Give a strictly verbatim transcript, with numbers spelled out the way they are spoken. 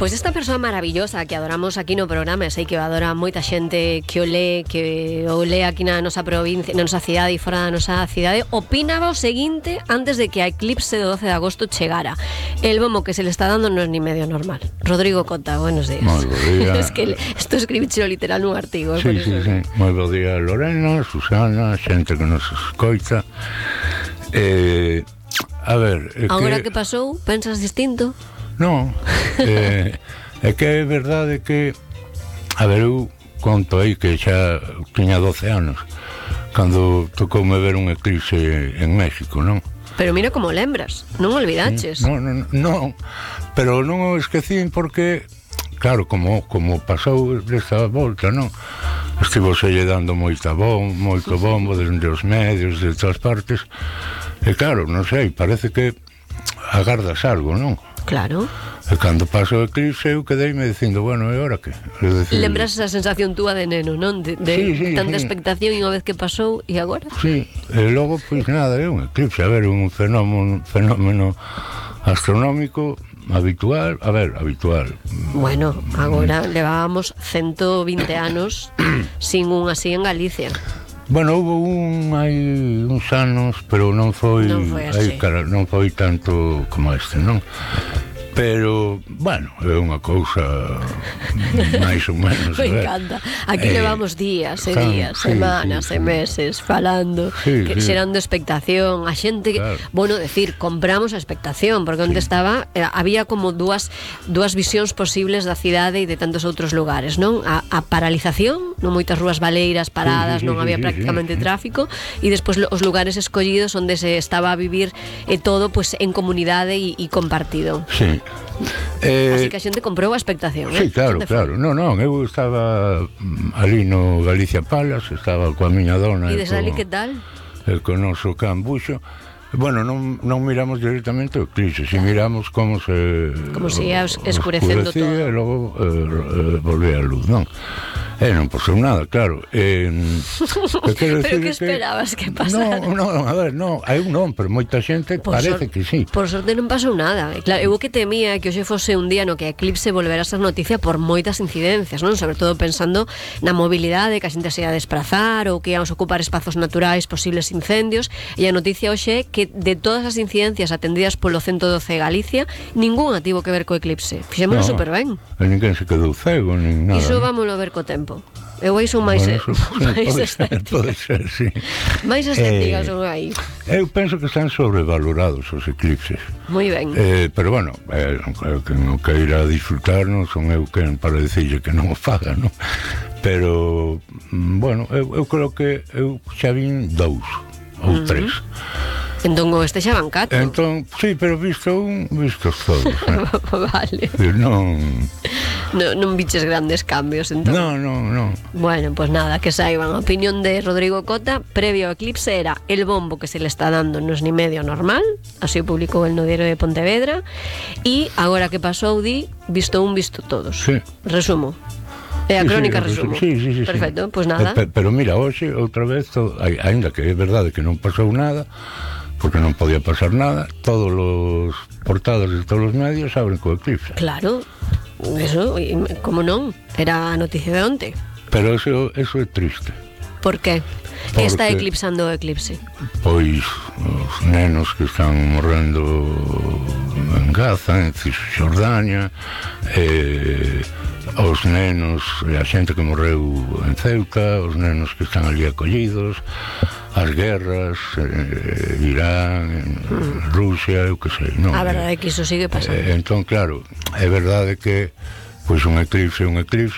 Pois esta persoa maravillosa que adoramos aquí no programa, e sei que adora moita xente que o lee, que o lee aquí na nosa provincia, na nosa cidade e fora da nosa cidade, opinaba o seguinte antes de que a eclipse do doce de agosto chegara: el bombo que se le está dando non é ni medio normal. Rodrigo Cota, buenos días. Moi bo día. Es que isto escribichelo literal nun artigo. Sí, sí, sí. Moi bo día, Lorena, Susana, xente que nos escoita. Eh, a ver, é agora que... que pasou, pensas distinto? Non, eh, é que é verdade que, a ver, eu conto aí que xa tiña doce anos cando tocoume ver un eclipse en México, non? Pero mira como lembras, non olvidaches. Non, non, non, pero non o esquecín porque, claro, como, como pasou desta volta, non? Estivo selle dando moita bom, moito bombo desde os medios, de todas partes, e claro, non sei, parece que agardas algo, non? Claro. E cando paso o eclipse eu quedeime dicindo, bueno, e ora que? Decir, lembras esa sensación túa de neno, non? De, de sí, sí, tanta sí. expectación e unha vez que pasou, e agora? Sí, e logo, pois nada, é un eclipse, a ver, un fenómeno, fenómeno astronómico habitual, a ver, habitual. Bueno, agora levábamos ciento veinte anos sin un así en Galicia. Bueno, houve un hai uns anos, pero non foi, non foi así. Aí, cara, non foi tanto como este, non? Pero, bueno, é unha cousa máis ou menos. Me encanta. Aquí eh, levamos días e días, sí, semanas sí, sí, e meses falando, sí, que, sí. xerando expectación. A xente, claro. Bueno, decir, compramos a expectación, porque onde sí. estaba, eh, había como dúas dúas visións posibles da cidade e de tantos outros lugares, non? A, a paralización, non moitas rúas baleiras paradas, sí, sí, non había sí, prácticamente sí, sí. tráfico, e despois os lugares escollidos onde se estaba a vivir e eh, todo pues, en comunidade e, e compartido. Sí. Eh, así que a xente comprou a expectación, sí, eh? claro, claro. Non, non, eu estaba ali no Galicia Palace, estaba coa miña dona. E desde ali que tal? E co noso can Buxo. Bueno, non, non miramos directamente o eclipse, si miramos como se como se ia escurecendo todo e logo eh, volvía a luz, non? E non pasou nada, claro. Eh, pero que esperabas que, que pasara? Non, non, a ver, non, hai un non, pero moita xente por parece sor- que sí. Por sorte non pasou nada. E claro, eu que temía que hoxe fose un día no que a eclipse volverá a ser noticia por moitas incidencias, non? Sobre todo pensando na mobilidade, que a xente se ia desplazar ou que íamos ocupar espazos naturais, posibles incendios, e a noticia hoxe é que de todas as incidencias atendidas polo ciento doce de Galicia, ningunha tivo que ver co eclipse. Fixémoslo no, super ben. E ninguén se quedou cego, nin nada. Iso vámoslo ver co tempo. Eu aí son máis, bueno, máis pode estética. Ser, pode ser, sí. Máis estética eh, son aí. Eu penso que están sobrevalorados os eclipses. Moi ben. Eh, pero bueno, eh, que non queira disfrutar, non son eu quen para dicirlle que non o faga, non? Pero, bueno, eu, eu creo que eu xa vin dous ou uh-huh. tres. Entón o este xa van catro. Entón, sí, pero visto un, vistos todos. Eh? Vale. Non... No, non biches grandes cambios, entón. Non, non, non. Bueno, pues nada, que saiban. A opinión de Rodrigo Cota, previo ao eclipse, era el bombo que se le está dando non es ni medio normal, así o publicou el no Diario de Pontevedra, e agora que pasou, di, visto un, visto todos. Sí. Resumo. É a crónica, sí, resumo. Sí, sí, sí. Perfecto, sí. Pues nada. Pero, pero mira, hoxe, outra vez, todo, ainda que é verdade que non pasou nada, porque non podía pasar nada, todos os portadas de todos os medios abren co eclipse. Claro, eso, como non? Era a noticia de onte. Pero eso, eso é triste. Por qué? Que está eclipsando o eclipse? Pois os nenos que están morrendo en Gaza, en Cisjordania, eh, os nenos, a xente que morreu en Ceuta, os nenos que están ali acollidos, as guerras, eh, Irán, mm. Rusia, eu que sei, non? A verdade é que iso sigue pasando. Eh, entón, claro, é verdade que pois un eclipse, un eclipse,